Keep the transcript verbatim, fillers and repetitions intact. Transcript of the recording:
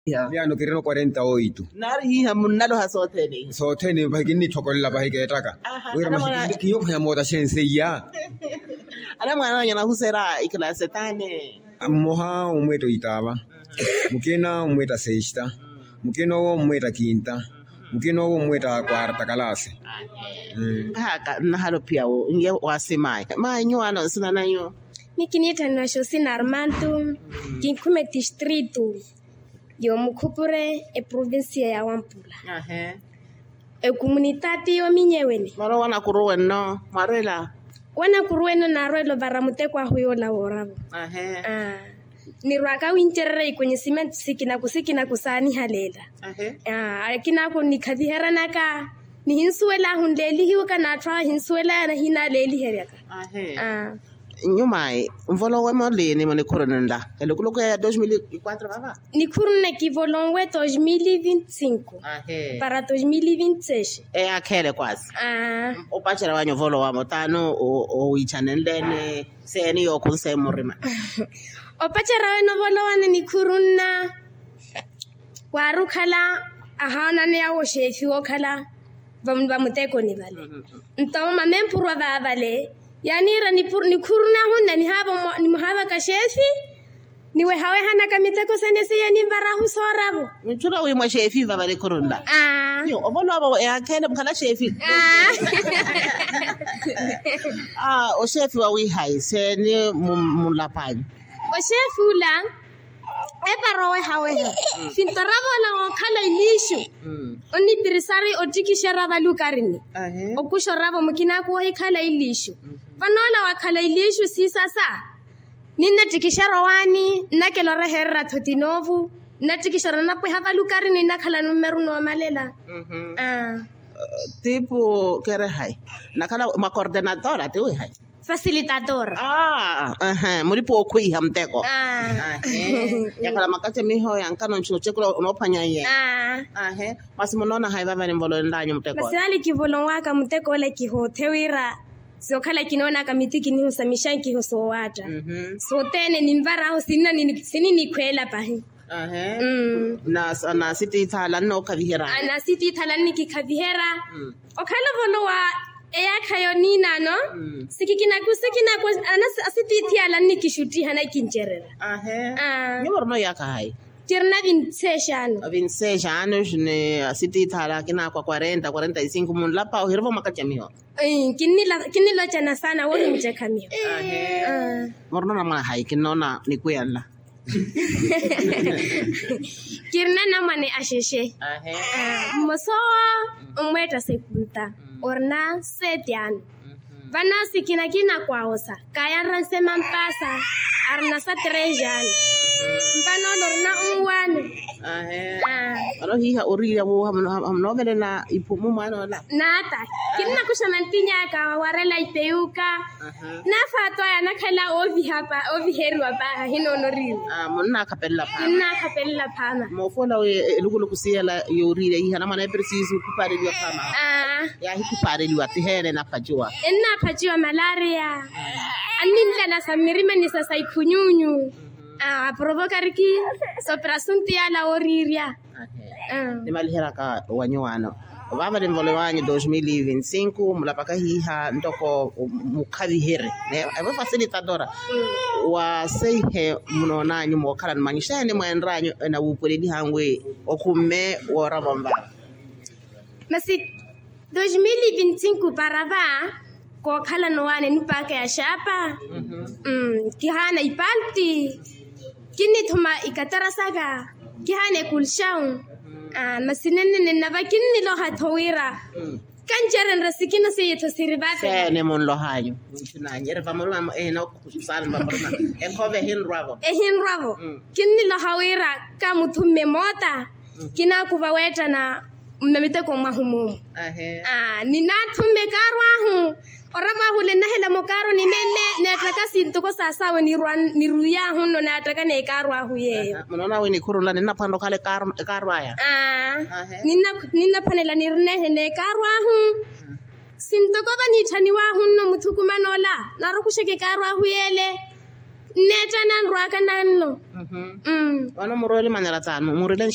Miyaano kirino quarenta oito. Naari hiiha munnaloha sothene. Sothene pahi kinnitthokolela pahi keettaka. Wira masi kinyookheya moota xenseiya. Anamwaana anyu anahuseera ikilasi etaane? Mmoha omweetta oitaava, mukina omweetta sexta, mukina owo omweetta kinta, mukina owo omweetta quarta kalasi. Nkaaka nnahala ophiya wo n'iye wasimaayi. Maayi nyuwaano nsina nanyu? Mikiniitthaniwa xosina armanto. Kinkhume tistritu y'omukhupure eprovincia ya wampula. Ecomunitati y'ominyeweni. Mwarowa wanakuru wenno mwarwela? Wanakuru wenno naarwela ovara muteko ahu yoola wooravo. Nirwaka wincererya ikonhisimentu sikinaku sikinaku saanihaleela. Akinaku nikhaviheranaka nihinsuwelaahu nleelihiwaka n'atthu ahinsuwelaya nahinaleeliheryaka. Nyumayi nvolowe moliini munikhuru nla elukuluku ya dos mil e quatro vava? Nikhuru nne kivolonwe dos mil e vinte cinco para dos mil e vinte seis. Eyaakheele kwasi. Opacerya wanyu ovolowa motaani owiichanenleni seeni yookhunse murima? Opacerya wene ovolowa ni nikhuru nna waari okhala ahoonaneya wo xeefi wookhala vamutekoni vale. Nto mamempurwa vaavale yaaniira nikhuru nahu nna nihaavaka xeefi niwehawehanaka miteko sene seiya ninvar'ahu sooravo. Muchula wi mwa xeefi vavale khurunla. Ovolowa vo eyaakheele mukhala xeefi. Oxeefi wawiihayi seeni munlapanyu? Oxeefi ula eepara owehaweha. Finto ravola wookhala iliixu onnipirisari ottikixera valukarini. Okuxa oravo mukinaku ohikhala iliixu. Vanoola wakhala iliixu siisasa ninnattikixera owaani nnakela oreherera thotinovu nnattikixera nnapweha valukarini nnakhala nummeru noomalela. Tipu kerehayi nakhala mwa coordenadora tiwihayi? Facilitadora. Mulipa okhwiiha muteko. Yakhala makacamiho yankano nchino chekula onoophwanya iye. Masi munoona hayi vavale nvolowenlanyu muteko? Masi vale kivolonwaka muteko ole kihoothe wira sookhala kinoonaka miti kinihusa mixankiho soowaatta. Sothene ninvar'ahu sininikhweela pahi. Nasitiithaala nnookhaviherya. Nasitiithaala nnikikhaviherya. Okhala ovolowa eyaakha yoniinaano sikikinaku sikinaku. Asitiithiyaala nnikixuttiha nakincererya. Nyuwo orina oyaakha hayi? Kirina vinti seis anos. Vinti seis anos ni asitiithaala akinaakwa quarenta quarenta y cinco munlapa ohirova mwakacamiho. Kinnilocana saana woori mucekhamiho. Morina onamwana hayi kinnoona nikwiya nla? Kirina anamwane axexe. Mmosa owo onmweetta sekunta orina sete ano. Vano sikina kinakwaawosa kaayanra nsema mpaasa arina sa tres ano. Vano ole orina unwaano. Vano hiiha oriirya wo hamunoovelela iphumu mwaan'ola? Naata kinnakuxa mantiny'aka wawarela ipeyuka. Naafaatwaya nakhala ooviheriwa paaha hinoonoriwa. Munnakhapelela phaama. Kinnakhapelela phaama. Moofola wi elukuluku siyela yooriirya iha namwana epresisu khupaareliwa phaama. Yaahikhupaareliwa tiheene enaphaciwa? Ennaphaciwa malaria. Anninlana sa mmirimani sa sa ikhunyunyu. Aprovokariki sooperasunti yala wooriirya. Nimaliheryaka wa nyuwaano vaavale nvolowanyu dos mil e vinte cinco mulapaka hiiha ntoko mukhaviherye evo facilitadora. Waseihe munoonanyu mookhalani mwanyu xeeni mweenranyu enawuupwelelihanyu wi okhumme wooravo nvaavo? Masi dos mil e vinte cinco para va kookhalana owaani nipaaka ya xaapa. Kihaana ipalti kinnithuma ikatara saka kihaana ekulxawu. Masi nennene nnava kinniloha-tho wira kancerenre sikina seiye-tho siri vate. Seene munlohanyu? Nchunanyu eri vamuruma ehina okusala vamuruma ekhova ehinrwa-vo. Ehinrwa-vo. Kinniloha wira kamuthumme moota kinaakuva weettana mmamiteko mwahu moomu. Ninathumme ekaaru ahu oravo ahu ole nnahela mukaaru ni meme neettaka sintoko sasaawe niruyahu nno neettaka n'ekaaru ahu yeeyo. Munoona wi nikhuru nla ninnaphwanela okhala ekaaru aya? Ninnaphwanela nirunehe n'ekaaru ahu. Sintoko vaniitthaniwahu nno muthukumano ola narukuxeke ekaaru ahu yeele. Nneetta nanrwaka nanno. Vano murwele manera taani murileni.